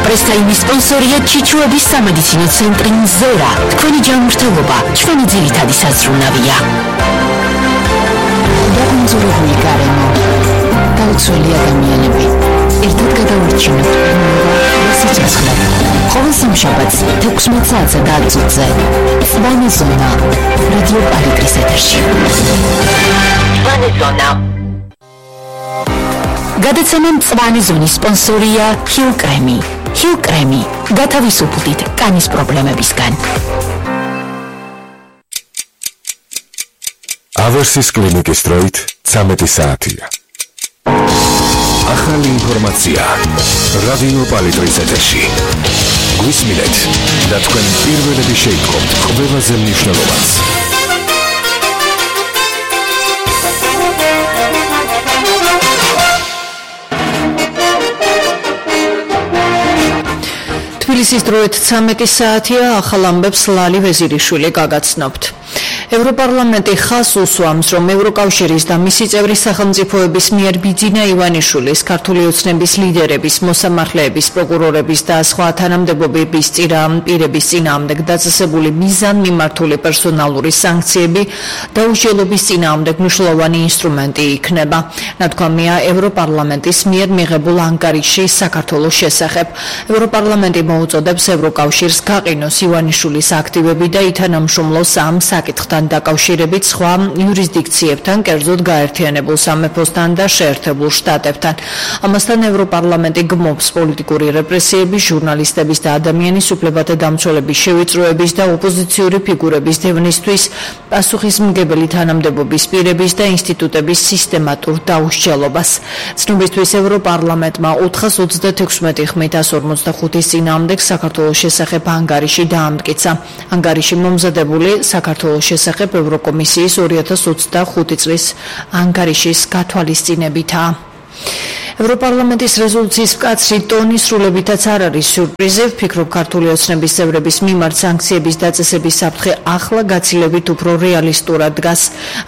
პრესტაიმის სპონსორია ჩიჩუების სამედიცინო ცენტრი ზორა. თქვენი ჯანმრთელობა ჩვენი ძირითადი საზრუნავია. დაუნზორებული გარემო, გაუცველი ადამიანები, ერთად გადავარჩინოთ სიცოცხლე. ყოველ სამშაბათს 16 საათზე და 10 წუთზე სვანი ზონა რადიო პალიტრის ეთერში. სვანი ზონა. გადაცემა მწვანე ზონის სპონსორია ჰილ კრემი. ჰილ კრემი გათავისუფლდით კანის პრობლემებისგან. ავერსის კლინიკის დროით 13 საათია. ახალი ინფორმაცია რადიო პალიტრის ეთერში. გვისმინეთ და თქვენ პირველები შეიტყობთ ყველაზე მნიშვნელოვანს. თბილისის დროით 13 საათია. ახალ ამბებს ლალი ვეზირიშვილი გაგაცნობთ. ევროპარლამენტი ხაზს უსვამს, რომ ევროკავშირის და მისი წევრი სახელმწიფოების მიერ ბიძინა ივანიშვილის, ქართული ოცნების ლიდერების, მოსამართლეების, პროკურორების და სხვა თანამდებობების პირების წინააღმდეგ დაწესებული მიზანმიმართული პერსონალური სანქციები დაუსჯელობის წინააღმდეგ მნიშვნელოვანი ინსტრუმენტი იქნება. ნათქვამია ევროპარლამენტის მიერ მიღებულ ანგარიშის საქართველოს შესახებ. ევროპარლამენტი მოუწოდებს ევროკავშირს გაყინოს ივანიშვილის აქტივები და ითანამშრომლოს ამ საკითხთან დაკავშირებით სხვა იურისდიქციებთან, კერძოდ გაერთიანებულ სამეფოსთან და შეერთებულ შტატებთან. ამასთან ევროპარლამენტი გმობს პოლიტიკური რეპრესიების, ჟურნალისტების და ადამიანის უფლებათა დამცველების შევიწროების და ოპოზიციური ფიგურების დევნისთვის პასუხისმგებელი თანამდებობის პირების და ინსტიტუტების სისტემატურ დაუსჯელობას. ცნობისთვის ევროპარლამენტმა 436 ხმით 145 წინააღმდეგ საქართველოს შესახებ ანგარიში დაამტკიცა. ანგარიში მომზადებული საქართველოს შესახებ ევროკომისიის 2025 წლის ანგარიშის გათვალისწინებითაა. ევროპარლამენტის რეზოლუციის მკაცრი ტონი სრულებითაც არ არის სიურპრიზი. ვფიქრობ, ქართული ოცნების წევრების მიმართ სანქციების დაწესების საფრთხე ახლა გაცილებით უფრო რეალისტურად დგას.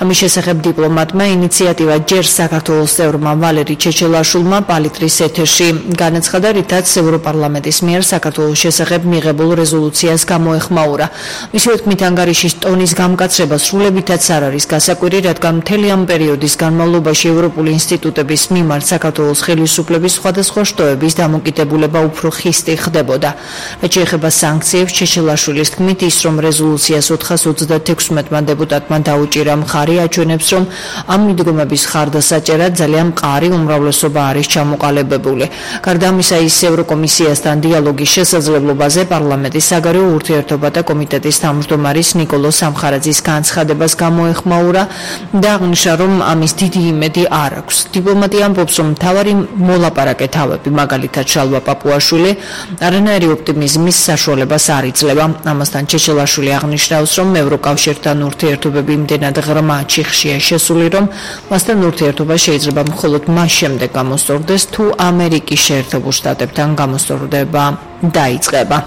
ამის შესახებ დიპლომატმა ინიციატივა ჯერ საქართველოს წევრმა ვალერი ჩეჩელაშვილმა პალიტრის ეთერში განაცხადა, რითაც ევროპარლამენტის მიერ საქართველოს შესახებ მიღებულ რეზოლუციას გამოეხმაურა. მისივე თქმით, ანგარიშის ტონის გამკაცრება სრულებითაც არ არის გასაკვირი, რადგან მთელი ამ პერიოდის განმავლობაში ევროპული ინსტიტუტების მიმართ საქართველოს ხელისუფლების სხვადასხვა შტოების დამოკიდებულება უფრო ხისტი ხდებოდა. რაც შეეხება სანქციებს, ჩეჩელაშვილის თქმით, ის რომ რეზოლუციას 436 დეპუტატმა დაუჭირა მხარი, აჩვენებს, რომ ამ მიდგომების ხარდასაჭერად ძალიან მყარი უმრავლესობა არის ჩამოყალიბებული. გარდა ამისა, ის ევროკომისიასთან დიალოგის შესაძლებლობაზე პარლამენტის საგარეო ურთიერთობათა კომიტეტის თავმჯდომარის ნიკოლო სამხარაძის განცხადებას გამოეხმაურა და აღნიშნა, რომ ამის დიდი იმედი არ აქვს. დიპლომატი ამბობს, რომ მთავარი მოლაპარაკე თავები, მაგალითად შალვა პაპუაშვილი, არანაირი ოპტიმიზმის საშუალებას არ იძლევა. ამასთან ჩეჩელაშვილი აღნიშნავს, რომ ევროკავშირთან ურთიერთობები იმდენად ღრმა ჩიხშია შესული, რომ მასთან ურთიერთობა შეიძლება მხოლოდ მას შემდეგ გამოსწორდეს, თუ ამერიკის შეერთებულ შტატებთან გამოსწორდება დაიწყება.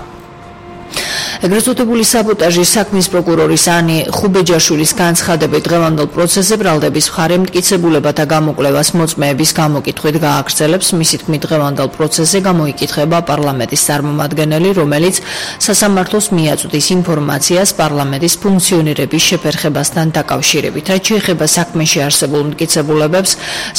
ეგრეთ წოდებული საბოტაჟის საქმის პროკურორის ანი ხუბეჯაშვილის განცხადებით დღევანდელ პროცესზე ბრალდების მხარე მტკიცებულებათა გამოკვლევას მოწმეების გამოკითხვით გააგრძელებს. მისი თქმით, დღევანდელ პროცესზე გამოიკითხება პარლამენტის წარმომადგენელი, რომელიც სასამართლოს მიაწვდის ინფორმაციას პარლამენტის ფუნქციონირების შეფერხებასთან დაკავშირებით. რაც შეეხება საქმეში არსებულ მტკიცებულებებს,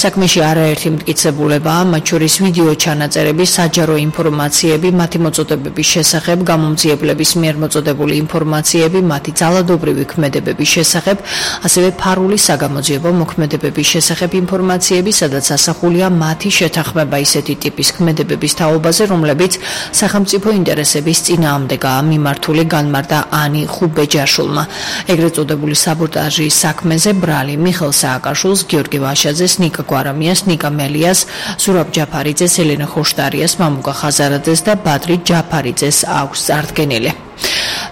საქმეში არაერთი მტკიცებულებაა, მათ შორის ვიდეო ჩანაწერები, საჯარო ინფორმაციები, მათი მოწოდებების შესახებ, გამომძიებლების მიერ მოწოდებული ინფორმაციები, მათი ძალადობრივი ქმედებების შესახებ, ასევე ფარული საგამოძიებო მოქმედებების შესახებ ინფორმაციები, სადაც ასახულია მათი შეთანხმება ისეთი ტიპის ქმედებების თაობაზე, რომლებიც სახელმწიფო ინტერესების წინააღმდეგაა მიმართული, განმარტა ანი ხუბეჯაშვილმა. ეგრეთ წოდებული საბოტაჟის საქმეზე ბრალი მიხელ სააკაშვილს, გიორგი ვაშაძეს, ნიკა გვარამიას, ნიკა მელიას, ზურაბ ჯაფარიძეს, ელენა ხოშტარიას, მამუკა ხაზარაძეს და ბადრი ჯაფარიძეს აქვს წარდგენილი.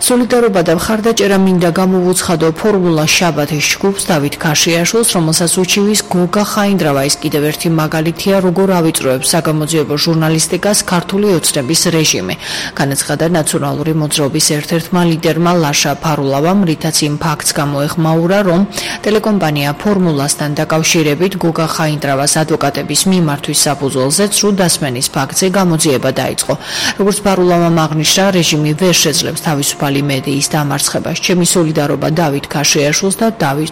სოლიდარობა და მხარდაჭერა მინდა გამოვუცხადო ფორმულა შაბათის ჯგუფს დავით ქაშიაშვილს, რომელსაც უჩივის გოგა ხაინდრავა. ის კიდევ ერთი მაგალითია, როგორ ავიწროებს საგამოძიებო ჟურნალისტიკას ქართული ოცნების რეჟიმი. განაცხადა ნაციონალური მოძრაობის ერთ-ერთმა ლიდერმა ლაშა ფარულავამ, რითაც იმ ფაქტს გამოეხმაურა, რომ ტელეკომპანია ფორმულასთან დაკავშირებით გოგა ხაინდრავას ადვოკატების მიმართვის საფუძველზე ცრუ დასმენის ფაქტზე გამოძიება დაიწყო. როგორც ფარულავამ აღნიშნა, რეჟიმი ვერ შეძლებს თავისუფალი მედიის დამარცხებას. ჩემი სოლიდარობა დავით ქაშიაშვილს და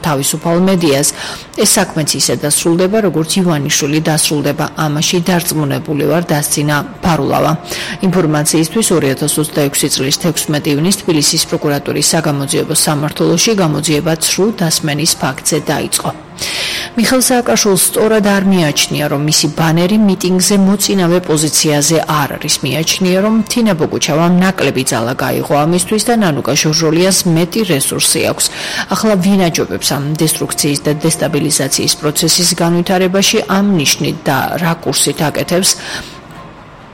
თავისუფალ მედიას. ეს საქმეც ისე დასრულდება, როგორც ივანიშვილი დასრულდება. ამაში დარწმუნებული ვარ, დასცინა ფარულავა. ინფორმაციისთვის 2026 წლის 16 ივნის თბილისის პროკურატურის საგამოძიებო სამმართველოში გამოძიება ცრუ დასმენის ფაქტზე დაიწყო. მიხეილ სააკაშვილს სწორად არ მიაჩნია, რომ მისი ბანერი მიტინგზე მოწინავე პოზიციაზე არ არის. მიაჩნია, რომ თინა ბოგუჩავამ ნაკლები ძალა გაიღო ამისთვის და ნანუკა ჟორჟოლიას მეტი რესურსი აქვს. ახლა ვინ აჯობებს ამ დესტრუქციის და დესტაბილიზაციის პროცესის განვითარებაში, ამ ნიშნით და რა კურსით აკეთებს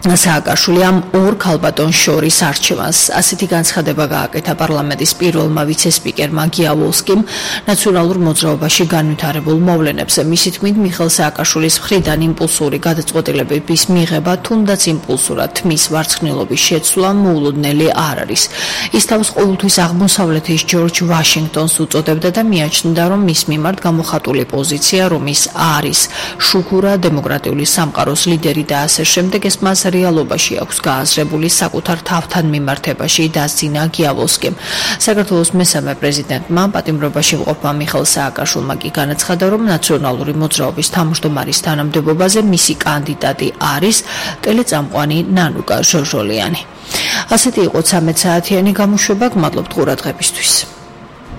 სააკაშვილი ამ ორ ქალბატონს შორის არჩევანს. ასეთი განცხადება გააკეთა პარლამენტის პირველმა ვიცე-სპიკერმა გიავოლსკიმ ნაციონალურ მოძრაობაში განვითარებულ მოვლენებზე. მისი თქმით, მიხეილ სააკაშვილის მხრიდან იმპულსური გადაწყვეტილებების მიღება, თუნდაც იმპულსურად თმის ვარცხნილობის შეცვლა მოულოდნელი არ არის. ის თავს ყოველთვის აღმოსავლეთის ჯორჯ ვაშინგტონს უწოდებდა და მიაჩნდა, რომ მის მიმართ გამოხატული პოზიცია, რომ ის არის შუქურა, დემოკრატიული სამყაროს ლიდერი და ასე შემდეგ, ეს მას რეალობაში აქვს გააზრებული საკუთარ თავთან მიმართებაში, დასძინა გიავოლსკიმ. საქართველოს მესამე პრეზიდენტმა პატიმრობაში მყოფმა მიხეილ სააკაშვილმა კი განაცხადა, რომ ნაციონალური მოძრაობის თავმჯდომარის თანამდებობაზე მისი კანდიდატი არის ტელეწამყვანი ნანუკა ჟორჟოლიანი. ასეთი იყო 13 საათიანი გამოშვება. გმადლობთ ყურადღებისთვის.